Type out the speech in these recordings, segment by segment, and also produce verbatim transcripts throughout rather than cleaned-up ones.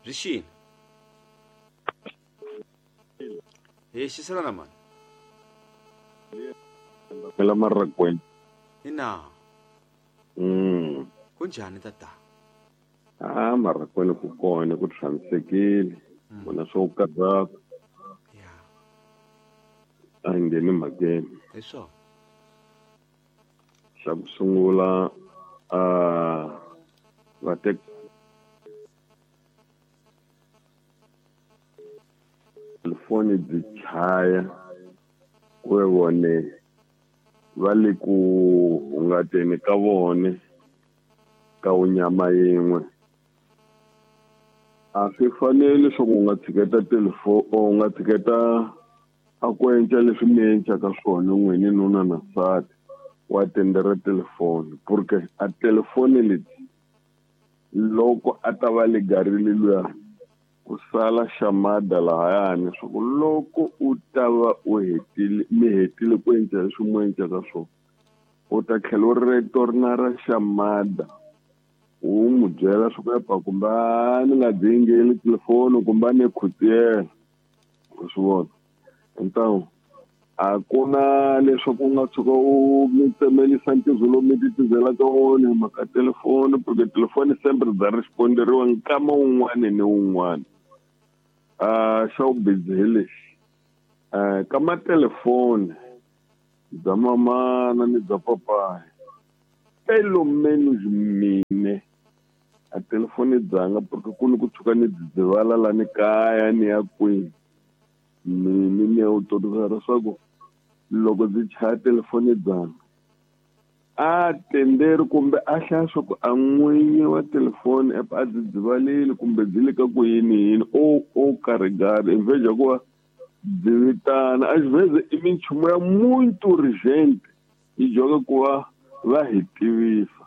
Byi xini hi xiselana mani la Maragweni. Ina. Mm. Kunjhani tata? Ah, Maragweni ku kona ku tshamisekile. Vona swo karhata. Ya. A hi ngheni mhakeni. Hi swona. Xa ku sungula a va tek telefoni byi chaya ku ve vone va le ku hungateni ka vone ka wunyama yin'we. A swi faneli leswaku u nga tshiketa telefoni u nga tshiketa a ku endla leswi mi endlaka swona n'wini nuna na nsati wa tendera telefoni porque a telefoni leti loko a ta va legarile luya ku sala xamada lahayani swa ku loko u ta va u hetile mi hetile ku endla leswi mu endlaka swona u ta tlhela u retorna ra xamada u n'wi byela swa ku epa kumbe a ni nga byi yingeli telefoni kumbe a ni khutiyela u swi vona. Então a ku na leswaku u nga tshuka u mi tsemelisa ntirho lowu mi titizelaka wona hi mhaka telefoni porque telefoni sempre bya responderiwa nkama wun'wani ni wun'wani. A xa vubizi hi lexi um ka matelefoni bya mamana ni bya papayi pelo menos mine a telefoni dzanga porque ku ni ku tshuka ni dzidzivala la ni kaya ni ya kwini mini ni ya autoriza leswaku loko ndzi chaya telefoni dzanga a tenderi kumbe a hlaya swa ku a n'winyi wa telefoni app a dzidzivalile kumbe byi le ka ku yini yini o o karigari in vez ya ku va byi vitana a xivheze i minchumu ya muito urgente yi joga ku va va hi tivisa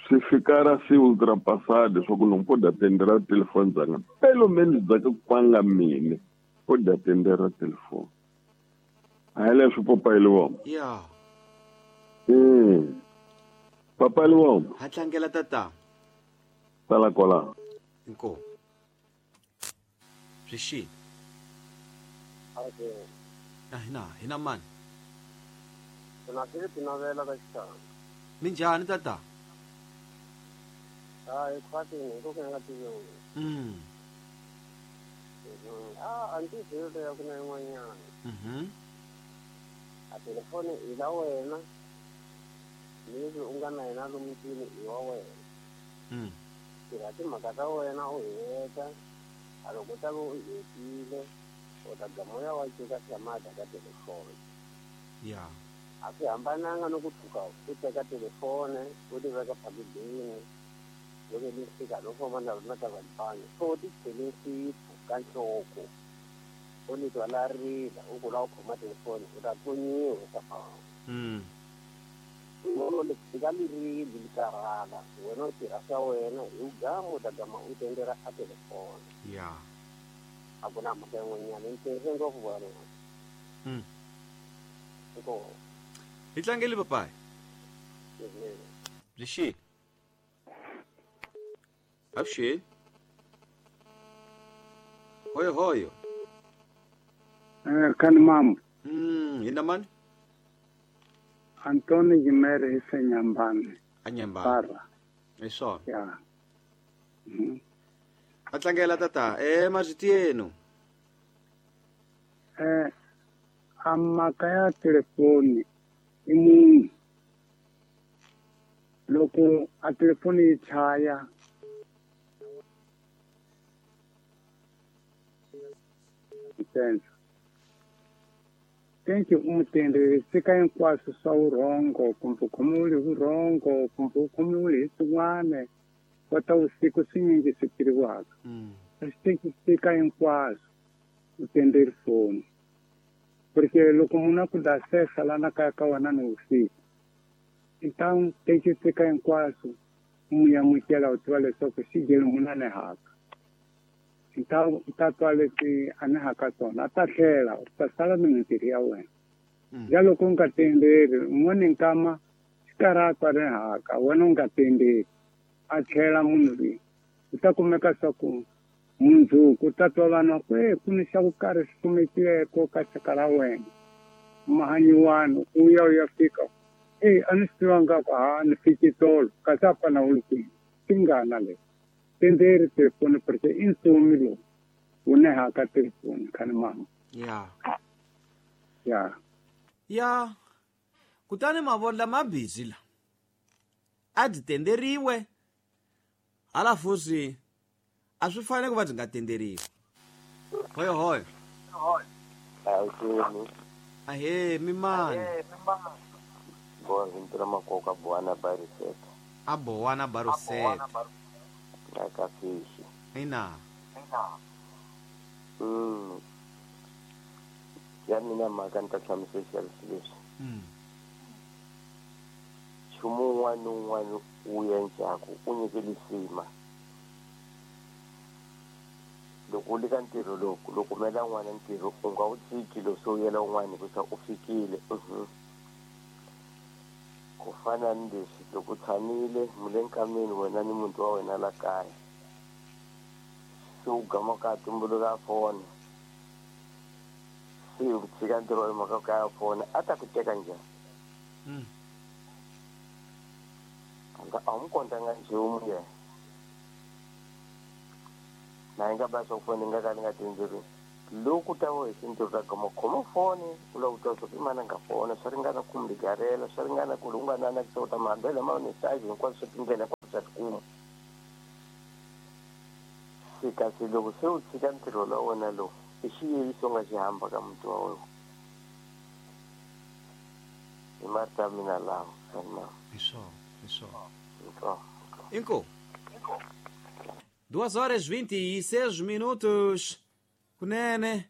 swi fika ra se ultrapassado swa ku no pode atender a telefoni dzanga pelo menos dzaka kwanga mine pode atender a telefoni a hi leswo papayi liwoma. Ya. Mm. Papa liwoma. Ha tlangela tata. Sala kwala. Inkomu. Byi xini? Okay. A hina hina mani? Mina Philip Navela ka Xitanga. Minjhani tata? Hayi khwatini hi ku ka nga tiviwi. Mm. Ah, a ndzi byeli ya ku na yin'wanyana. Mhm. A telefoni i la wena leswi u nga na yena lomu ndlwini i wa wena. Mm. Tirha timhaka ta wena u heta a loko u ta va u hetile u ta gama u ya wa cika xamada ka telefoni. Ya. A swi hambananga no ku tshuka u teka telefoni u ti veka phakidini loko ni fika no famba na na ta vanhu so ti chele nsipho ka nhloko u ni twa la rila u ku la u khoma telefoni u ta tlonyiwa sa famba. Mm. Loko li fika li rili li karhala wena u tirha swa wena hi u gama u ta gama u tendera a telefoni. Ya. A ku na mhaka yin'wanyana ni tirhise ngopfu vona. Mm. Inkomu. Hi tlangeli papayi. Byi xini? Avuxeni. Hoyo hoyo. Eh, kani mambo. Mm, hina mani? Antoni Jimere hi Senyambani. A Nyambani. Para. Hi swona. Ya. Mm. A tlangela tata eh marito yenu. Eh, a mhaka ya telefoni i munhu loko a telefoni yi chaya ntsena tenki u n'wi tenderi sika hinkwaswo swa vurhongo kumbe u khomiwile hi vurhongo kumbe u khomiwile hi swin'wana kota vusiku swinyingi swi tiriwaka. Mm. Swi sika hinkwaswo u tenderi foni porque loko munhu a ku dasesa lana kaya ka wena ni vusiku então tenki sika hinkwaswo u n'wi amukela u tiva leswaku xi dyeli munhu a ni haka. Então u ta twa leswi a ni haka swona a ta tlhela u ta sala ni mintirho ya wena. Ja loko u nga tenderi un'wana nkama xi karhi a twa ri haka wena u nga tenderi a tlhela munhu loyi U ta kumeka swa ku mundzuku ta twa vanhu ku e ku ni xa ku karhi xi kumekileko ka xaka ra wena mahanyiwani u ya u ya fika e a ni swi tivanga ku ha ni fiki tolo kasi a fana u ri kwini tingana leyi tenderi telefoni porque i nsomi lowu wu nehaka telefoni khani mama ya ya ya kutani mavondla ma busy la a byi tenderiwe hala fusi a swi fanele ku va byi nga tenderiwi hoyo hoyo ahe mimani bonzintura makoka bwana bariseta a bowana baruseta ka fishi ina mm ya mina mhaka ni ta hlamusela leswi mm nchumu wun'wana ni wun'wana wu endlaku u nyike lisima loko u le ka ntirho lowu loko kumela n'wana ntirho u nga wu tshiki lo se u yela un'wana hikusa u fikile ku fana ni leswi loko u tshamile mi le nkameni wena ni muti wa wena la kaya se u gama ka tumbuluka foni se u tshika ntirho wa mhaka kaya foni a ta ku teka njhani a wu n'wi kontanga nchumu yena na yi nga ba swa foni nga ka ni nga tindzeri loko ta wo hi tindzeri ta gama khoma foni u lava ku twa swa ku i mani a nga fona swa ringana ku mi garela swa ringana ku ri u nga nana ku ta mahambela ma message hinkwaswo swa tindlela hinkwaswo swa tikuma se kasi loko se u tshika ntirho la wena lowu i xiyeliso u nga xi hamba ka muti wa wena hi marito ya mina lawa mama hi swona hi swona Inko. Duas horas vinte e seis minutos. Kunene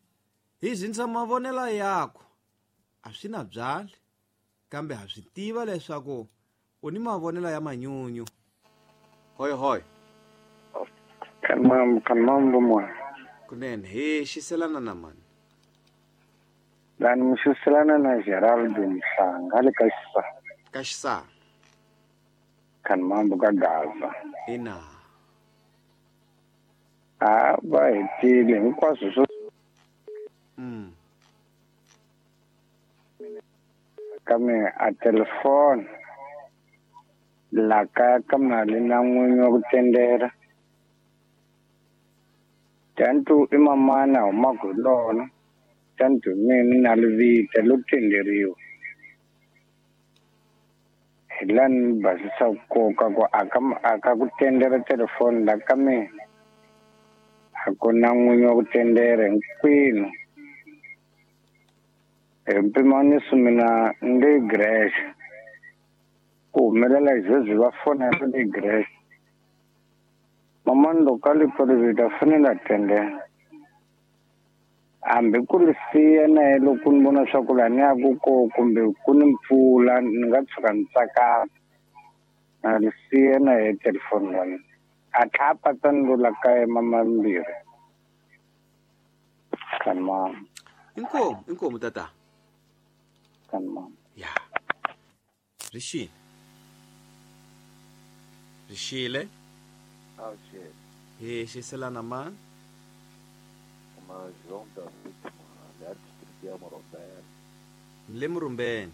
hi zinsa mavonelo yako a swi na byali kambe ha swi tiva leswaku u ni mavonelo ya manyunyu. Hoy hoy. Kanmam kanmam bomwa. Kunene hi xiselana na mani. Lani mi xiselana na Geraldo Mhlanga le ka Xisa. Ka Xisa. Kanmambo ka Gaza. Ina. A va hetile hinkwaswo swo mm. ka me a telefoni la kaya ka mali na n'winyi wa ku tendera tantu i mamana humaka hi lona tantu mina na livita lo tenderiwa hi la ni basisa nkoka ku aka aka ku tendera telefoni la ka mina a ku na n'winyi wa ku tendera hinkwenu hi mpimaniso mina ni le Greece ku humelela hi va fonela le Greece mamani loko a li pfalivita fanele a tendela hambi ku ri siya na ye loko ni vona swa ku laha ni yaku ko kumbe ku ni mpfula ni nga tshuka ni tsakama na ri siya na ye telefoni la mina a tlha a patsa ni lo la kaya mamambirhi kanmama inkomu inkomu tata kanmama ya rixile rixile hi xiselana mani João David Mohamed, distrito ya Murumbeni. Le Murumbeni.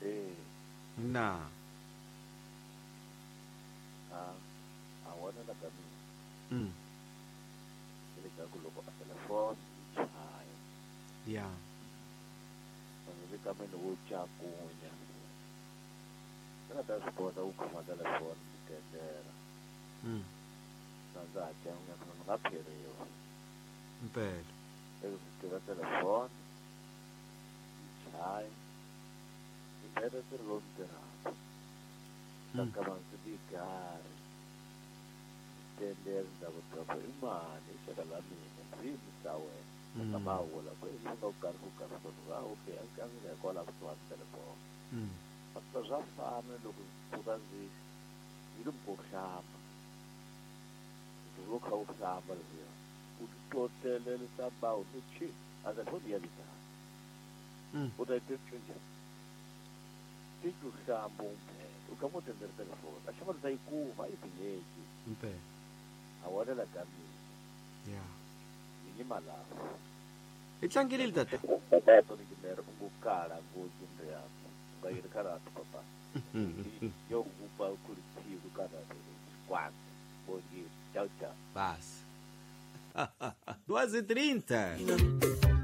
Eh. Na. Ah, a wona la ka mina. Mm. Le ka ku loko a telefoni chaya. Ya. Le ka mina wo chakunya. Kana ta swi kota ku khoma telefoni ni tendera. Mm. Na ndza ha cakunya ku ni nga pheriwa. Impela. Eko ndzi telefoni chaya. Ndzi ntirho lowu ndzi tirhaka. Ka ndzi ti gari. Tendera ndza ku tiva i mani i xaka la mina ndzi yimisa wena. Ka ma vula ku i nga ku karhi ku karhi ku va okay a ndzi nga hikwalaho kusuhani telefoni. Pastor swa fana loko ndzi pfuka ndzi ndzi ri ku hlamba. Ndzi vo kha u hlamba leswiya. U titotelerisa bawu ni chi a telefoni ya vitana. U ta yi tirhisa njhani? Ti ku hlamba u kha u tendera telefoni a xava ta yi kuma a yi tinyeki. Impela. Mavonelo ka mina. Yeah. Ni yima laha. Hi tlangelile tata. Papa ni ngimere u kala ngopfu ndyangu. U nga yiri karata papa. Yo kupa kuli tsiku kana kwanza. Bom dia. Tchau, tchau. Paz. duas e trinta.